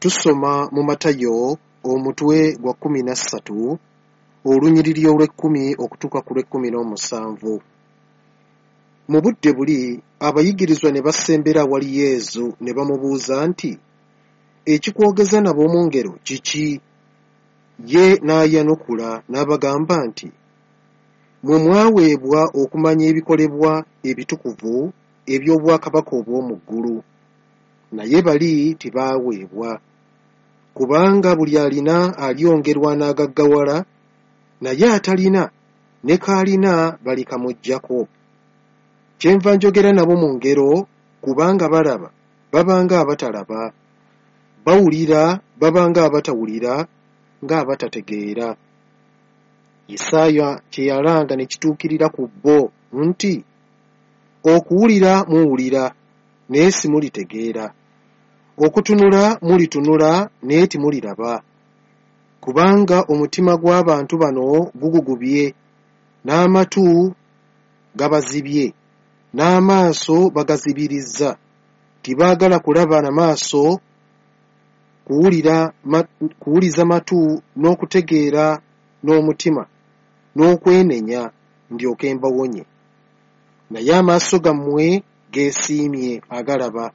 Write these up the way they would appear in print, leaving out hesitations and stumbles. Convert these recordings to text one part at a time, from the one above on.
Tusoma mu Matayo omutwe gwa 13 olunyiriri olw'ekkumi okutuuka ku lw'ekkumi n'omusanvu. Mu budde buli abayigirizwa ne basembera awali Yesu ne bamubuuza nti, ekikwogeza nabo mu ngero kiki? Ye n'ayanukula n'abagamba nti, mmwe mwaweebwa okumanya ebikolebwa ebitukuvu eby'obwakabaka obw'omu ggulu, naye bali tebaaweebwa. Kubanga buli alina alyongerwa n'agaggawala, naye atalina ne k'alina balikamuggyako. Kyenva njogera nabo mu ngero, kubanga balaba babanga abatalaba, bawulira babanga abatawulira, ng'abatategeera. Isaaya kye yalanga ne kituukirira ku bo nti, okuwulira muwulira naye simulitegeera, okutunula mulitunula naye timuliraba. Kubanga omutima gw'abantu bano gugugubye, n'amatu gabazibye, n'amaaso bagazibirizza, tibaagala kulaba na maaso, kuwuliza matu, n'okutegeera n'omutima, n'okwenenya ndyoke mbawonye. Naye amaaso gammwe geesiimye agalaba,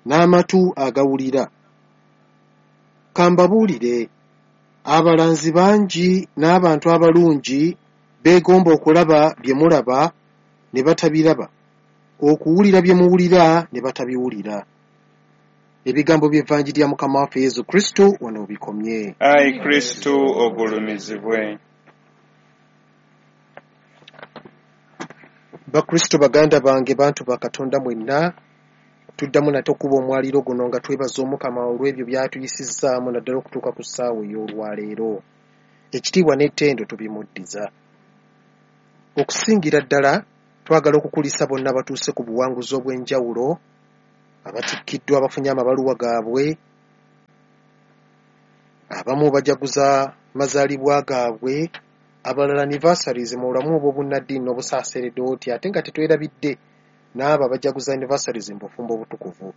n'amatu agawulira. Ka mbabuulire, abalanzi bangi n'abantu abalungi beegomba okulaba bye mulaba ne batabiraba, okuwulira bye muwulira ne batabiwulira. Ebigambo by'Evanjiri ya Mukama waffe Yesu Kristo wano bikomye. Ayi Kristo ogulumizibwe. Bakristo baganda bange, bantu ba Katonda mwenna, tuddamu nate okuba omwaliro guno nga twebaza Omukama olw'ebyo by'atuyisizzaamu naddala okutuuka ku ssaawa ey'olwaleero. Ekitiibwa n'ettendo tubimuddiza. Okusingira ddala twagala okukulisa bonna abatuuse ku buwanguzi obw'enjawulo, abatikkiddwa, abafunye amabaluwa gaabwe, abamu bajaguza mazaalibwa gaabwe, abalala anniversaries mu bulamu obw'obunnaddiini n'obusaaseredooti, ate nga tetwerabidde n'abo abajaguza anniversaries mu bufumbo obutukuvu.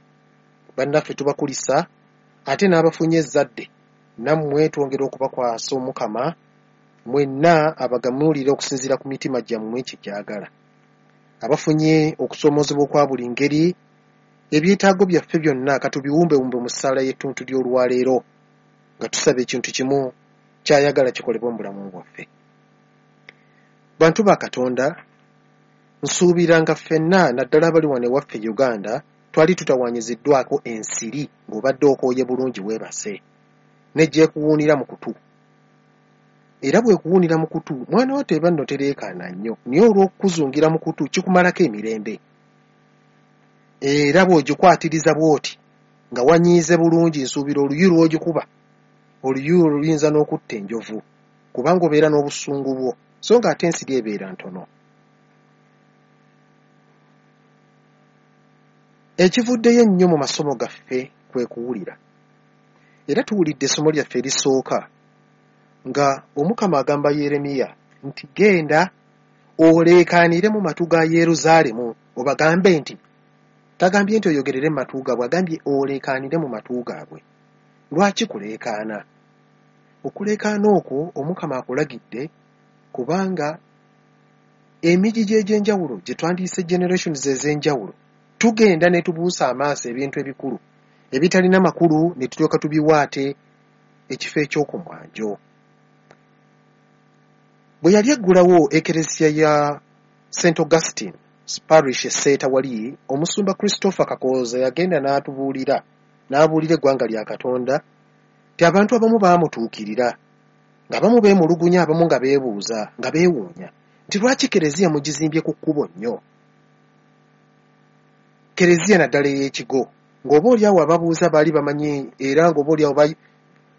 Bannaffe tubakulisa, ate n'abafunye ezzadde nammwe twongera okubakwasa Omukama, mwenna abagamuulire okusinziira ku mitima gyammwe kye gyagala. Abafunye okusoomoozebwa okwa buli ngeri, ebyetaago byaffe byonna katubiwumbewumbe mu ssaala y'ettuntu ly'olwaleero nga tusaba ekintu kimu ky'ayagala kikolebwe mu bulamu bwaffe. Bantu ba Katonda, nsuubira nga ffenna naddala abali wano ewaffe Uganda twali tutawaanyiziddwako ensiri ng'obadde okooye bulungi weebase, ne gyekuwuunira mu kutu. Era bw'ekuwuunira mu kutu, mwana wa teba nno tereekaana nnyo, naye olw'okukuzungira mu kutu kikumalako emirembe. Era bw'ogikwatiriza bw'oti nga wanyiize bulungi, nsuubira oluyu lw'ogikuba, oluyu luyinza n'okutta enjovu, kubanga obeera n'obusungu bwo, so ng'ate ensiri ebeera ntono. Ekivuddeyo ennyo mu masomo gaffe kwe kuwulira. Era tuwulidde essomo lyaffe erisooka nga Omukama agamba Yeremiya nti genda oleekaanire mu matu ga Yerusaalemu obagambe nti, tagambye nti oyogerere mu matu gaabwe, agambye oleekaanire mu matu gaabwe. Lwaki kuleekaana? Okuleekaana okwo Omukama akulagidde kubanga emigigi egy'enjawulo gye twandiyise generations ez'enjawulo tugenda ne tubuusa amaaso ebintu ebikulu ebitalina makulu ne tulyoka tubiwaate ekifo eky'okumwanjo. Bwe yali eggulawo ekereziya ya St. Augustine Parish e Seeta wali, omusumba Christopher Kakooza yagenda n'atubuulira, n'abuulira eggwanga lya Katonda nti abantu abamu baamutuukirira ng'abamu beemulugunya, abamu nga beebuuza, nga beewuunya nti lwaki kereziya mugizimbye ku kkubo nnyo? Kereziya naddala ey'ekigo, ng'oba oliawo ababuuza baali bamanyi, era ng'oba oliawo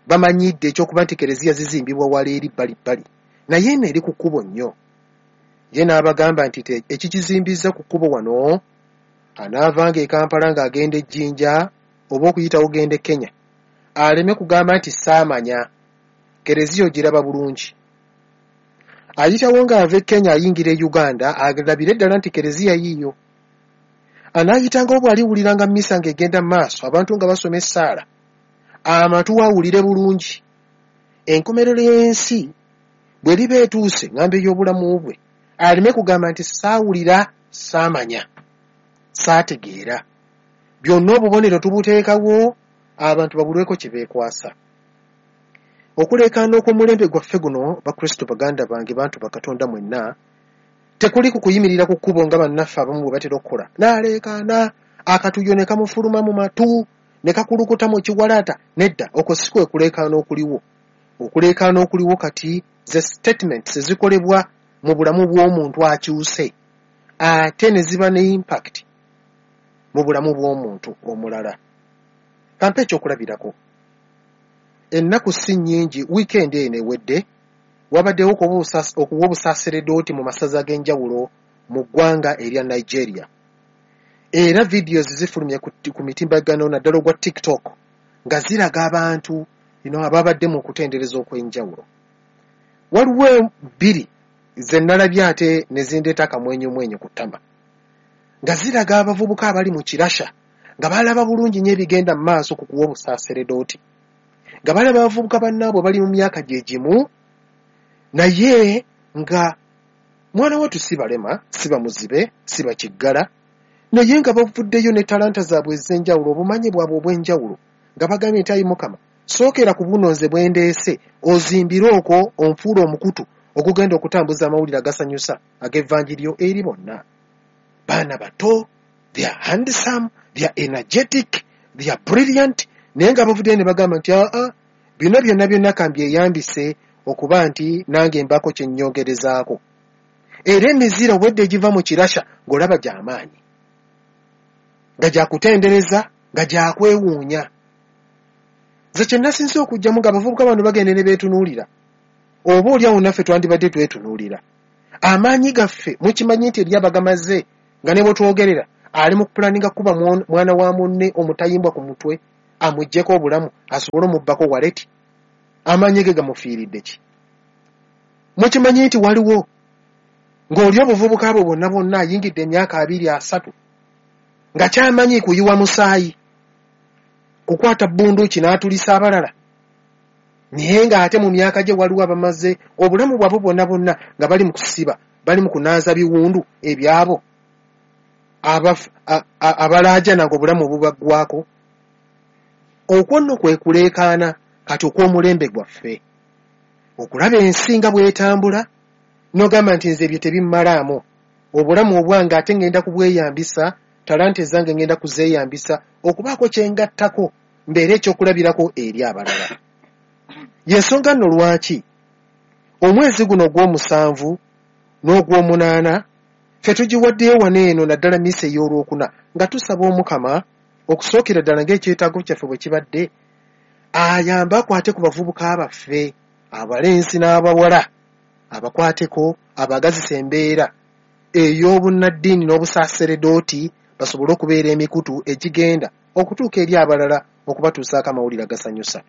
bamanyidde ekyokuba nti kereziya zizimbibwa wala eri bbali bbali, naye eno eri ku kkubo nnyo. Ye n'abagamba nti ekikizimbizza ku kkubo wano, anaavanga e Kampala ng'agenda e Jjinja oba okuyitawo genda e Kenya, aleme kugamba nti saamanya, kereziya ogiraba bulungi. Ayitawo ng'ava e Kenya ayingira e Uganda, alabire ddala nti kereziya yiiyo. Anaayitangawo bw'aliwuliranga mmisa ng'egenda mu maaso, abantu nga basoma essaala, amatu awulire bulungi. Enkomerero y'ensi bw'eriba etuuse, ŋŋamba ey'obulamu bwe, aleme kugamba nti saawulira, saamanya, saategeera. Byonna obubonero tubuteekawo abantu babulweko kye beekwasa. Okuleekaana okw'omulembe gwaffe guno, Bakristo baganda bange, bantu ba Katonda mwenna, tekuli ku kuyimirira ku kkubo nga bannaffe abamu bwe batera okukola. N'aleekaana, akatuuyo ne kamufuluma mu matu, ne kakulukuta mu kiwalaata. Nedda, okwo si kwe kuleekaana okuliwo. Okuleekaana okuliwo kati ze statements ezikolebwa mu bulamu bw'omuntu akyuse, ate ne ziba ne impact mu bulamu bw'omuntu omulala. Kampe ekyokulabirako. Ennaku si nnyingi, wiikendi eno ewedde, wabaddewo okuwa obusaaseredooti mu masaza ag'enjawulo mu ggwanga erya Nigeria. Era videos zifulumye ku mitimbagano naddala ogwa TikTok nga ziraga abantu ababadde mu kutendereza okw'enjawulo. Waliwo bbiri ze nnalabye ate ne zindeeta akamwenyumwenyu ku ttama nga ziraga abavubuka abali mu kirasha nga balaba bulungi nnyo ebigenda mu maaso ku kuwa obusaaseredooti, nga balaba abavubuka bannaabwe bali mu myaka gye gimu naye nga mwana wattu si balema, si bamuzibe, si bakiggala, naye nga bavuddeyo ne talanta zaabwe ez'enjawulo, obumanyi bwabwe obw'enjawulo, nga bagambye nti ayi Mukama, sookera ku buno nze bwe ndeese, ozimbire okwo onfuule omukutu ogugenda okutambuza amawulire agasanyusa ag'evvanjiryo eri bonna. Baana bato, they are handsome, they are energetic, they are brilliant, naye nga bavuddeyo ne bagamba nti aa bino byonna byonna kambyeyambise okuba nti nange mbaako kye nnyongerezaako. Era emizira obwedda egiva mu kirasha ng'olaba gy'amaanyi, nga gyakutendereza, nga gyakwewuunya. Nze kye nasinze okuggyamu ng'abavubuka bano bagenda ne beetunuulira, oba oli awo naffe twandibadde twetunuulira. Amaanyi gaffe mukimanyi nti eri abagamaze nga ne bwe twogerera ali mu kupulaninga kuba mwana wa munne omutayimbwa ku mutwe amuggyeko obulamu asobole omubbako waleti. Amaanyi ge gamufiiridde ki? Mukimanyi nti waliwo ng'oli obuvubuka bwe bwonna bwonna ayingidde emyaka 20 30 nga kyamanyi kuyiwa musaayi, kukwata bunduuki n'atulisa abalala, naye ng'ate mu myaka gye waliwo abamaze obulamu bwabwe bwonna bwonna nga bali mu kusiba, bali mu kunaaza biwundu ebyabo abalaajana ng'obulamu bubaggwako. Okwo nno kwe kuleekaana kati okw'omulembe gwaffe, okulaba ensi nga bw'etambula n'ogamba nti nze ebyo tebimmalaamu, obulamu obwange ate ngenda kubweyambisa, talanta ezange ngenda kuzeeyambisa okubaako kye ngattako mbeere ekyokulabirako eri abalala. Y'ensonga nno lwaki omwezi guno ogw'omusanvu n'ogw'omunaana ffe tugiwaddeyo wano eno naddala misa ey'olwokuna nga tusaba Omukama okusookera ddala ng'ekyetaago kyaffe bwe kibadde ayambe akwate ku bavubuka baffe abalenzi n'abawala, abakwateko abagazisa embeera ey'obunnaddiini n'obusaaseredooti basobole okubeera emikutu egigenda okutuuka eri abalala okubatuusaako amawulire agasanyusa.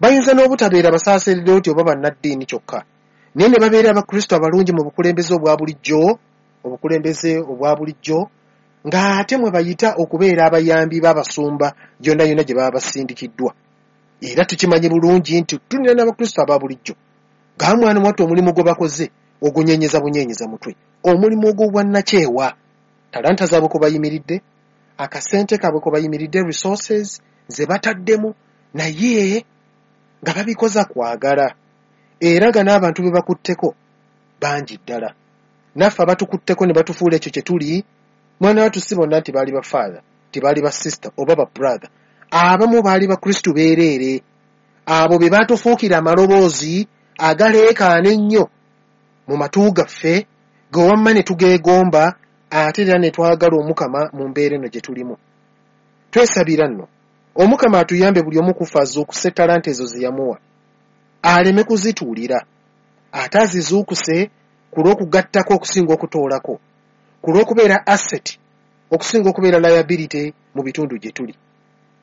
Bayinza n'obutabeera basaaseredooti oba bannaddiini kyokka, naye ne babeera Abakristo abalungi mu bukulembeze obwa bulijjo, obukulembeze obwa bulijjo ng'ate mwe bayita okubeera abayambi b'abasumba yonna yonna gye baba basindikiddwa. Era tukimanyi bulungi nti tulina n'Abakristo aba bulijjo nga mwana wattu omulimu gwe bakoze ogunyenyeza bunyenyeza mutwe, omulimu ogw'obwannakyewa, talanta zaabwe kwe bayimiridde, akasente kaabwe kwe bayimiridde, resources ze bataddemu, naye nga babikoza kwagala, era nga n'abantu be bakutteko bangi ddala. Naffe abatukutteko ne batufuula ekyo kye tuli, mwana wattu si bonna nti baali ba father, nti baali ba sister oba ba brother, abamu baali Bakristu beereere, abo be batufuukira amaloboozi agaleekaana ennyo mu matu gaffe ge wamma ne tugeegomba, ate era ne twagala Omukama mu mbeera eno gye tulimu. Twesabira nno Omukama atuyambe buli omu ku ffe azuukuse talanta ezo ze yamuwa, aleme kuzituulira, ate azizuukuse ku lw'okugattako okusinga okutoolako, ku lw'okubeera asset okusinga okubeera liability mu bitundu gye tuli.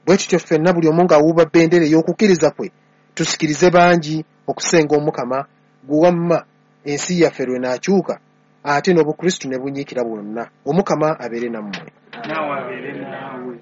Bwe tutyo ffenna buli omu ng'awuuba bendera ey'okukkiriza kwe, tusikirize bangi okusenga Omukama gwe wamma ensi yaffe lw'enaakyuka Ate n'Obukristu ne bunyiikira bwonna. Omukama abeere nammwe. Naawe abeere naawe.